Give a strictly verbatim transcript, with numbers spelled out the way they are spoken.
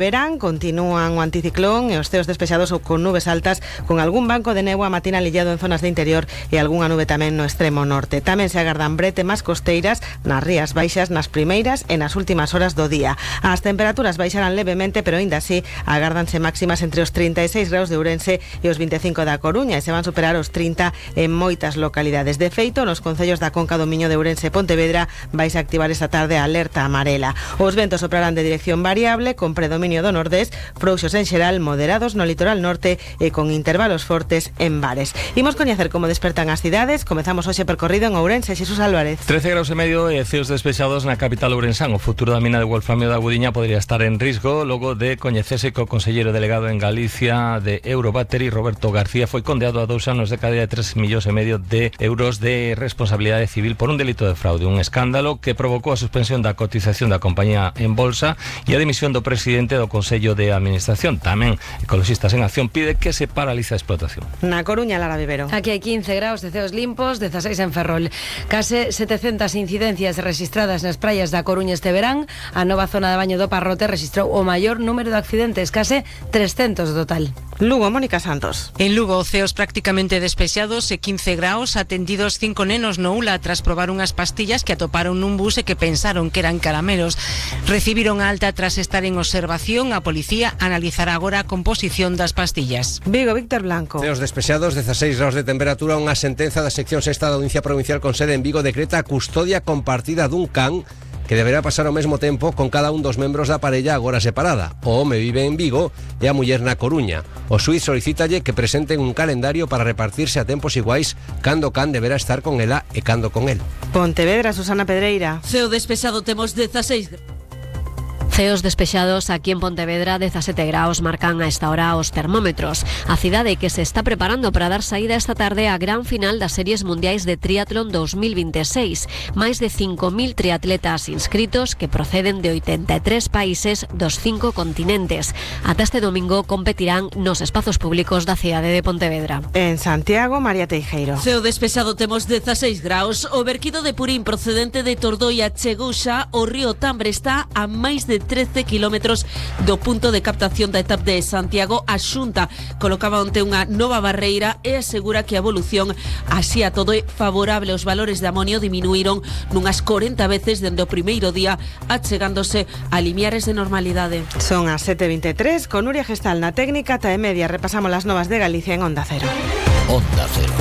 Verán, continúan o anticiclón e os ceos despexados ou con nubes altas, con algún banco de néboa matinal illado en zonas de interior e algunha nube tamén no extremo norte. Tamén se agardan brete máis costeiras nas rías baixas nas primeiras e nas últimas horas do día. As temperaturas baixarán levemente, pero aínda así agárdanse máximas entre os trinta e seis graus de Ourense e os vinte e cinco da Coruña, e se van superar os trinta en moitas localidades. De feito, nos concellos da Conca do Miño de Ourense e Pontevedra vais a activar esta tarde a alerta amarela. Os ventos soprarán de dirección variable, con predominio do nordés, frouxos en xeral, moderados no litoral norte e con intervalos fortes en bares. Imos coñecer como despertan as cidades. Comezamos hoxe percorrido en Ourense. Xesús Álvarez. trece graus e medio e ceos despexados na capital ourensán. O futuro da mina de wolframio da Gudiña podría estar en risco logo de coñecerse que o conselleiro delegado en Galicia de Eurobattery, Roberto García, foi condeado a dous anos de cadea de tres millóns e medio de euros de responsabilidade civil por un delito de fraude, un escándalo que provocou a suspensión da cotización da compañía en bolsa e a dimisión do presidente do Consello de Administración. Tamén Ecologistas en Acción pide que se paralice a explotación. Na Coruña, Lara Vivero. Aquí hai quince graus de ceos limpos, dezaseis en Ferrol. Case setecentas incidencias registradas nas praias da Coruña este verán. A nova zona de baño do Parrote registrou o maior número de accidentes, case trescentos do total. Lugo, Mónica Santos. En Lugo, ceos prácticamente despexados e quince graus, atendidos cinco nenos no Ula tras probar unhas pastillas que atoparon nun bus e que pensaron que eran caramelos. Recibiron a alta tras estar en observación. A policía analizará agora a composición das pastillas. Vigo, Víctor Blanco. Ceos despexados, dezaseis graus de temperatura. Unha sentenza da sección sexta da Audiencia Provincial con sede en Vigo decreta a custodia compartida dun can que deberá pasar ao mesmo tempo con cada un dos membros da parella agora separada. O home vive en Vigo e a muller na Coruña. O xuíz solicítalle que presenten un calendario para repartirse a tempos iguais cando o can deberá estar con ela e cando con el. Pontevedra, Susana Pedreira. Ceo despexado, temos dezaseis. Ceos despexados aquí en Pontevedra, dezasete graus marcan a esta hora os termómetros. A cidade que se está preparando para dar saída esta tarde á gran final das Series Mundiais de Triatlón dos mil veintiséis. Máis de cinco mil triatletas inscritos que proceden de oitenta e tres países dos cinco continentes. Ata este domingo competirán nos espazos públicos da cidade de Pontevedra. En Santiago, María Teijeiro. Ceo despexado, temos dezaseis graus. O verquido de Purín procedente de Tordoia chegou xa ao río Tambre. Está a máis de trece kilómetros do punto de captación da etapa de Santiago. A Xunta colocaba onte unha nova barreira e asegura que a evolución así a todo é favorable. Os valores de amonio diminuíron nunhas corenta veces dende o primeiro día, achegándose a limiares de normalidade. Son as sete e vinte e tres, con Nuria Gestal na técnica, ta e media repasamos as novas de Galicia en Onda Cero. Onda Cero.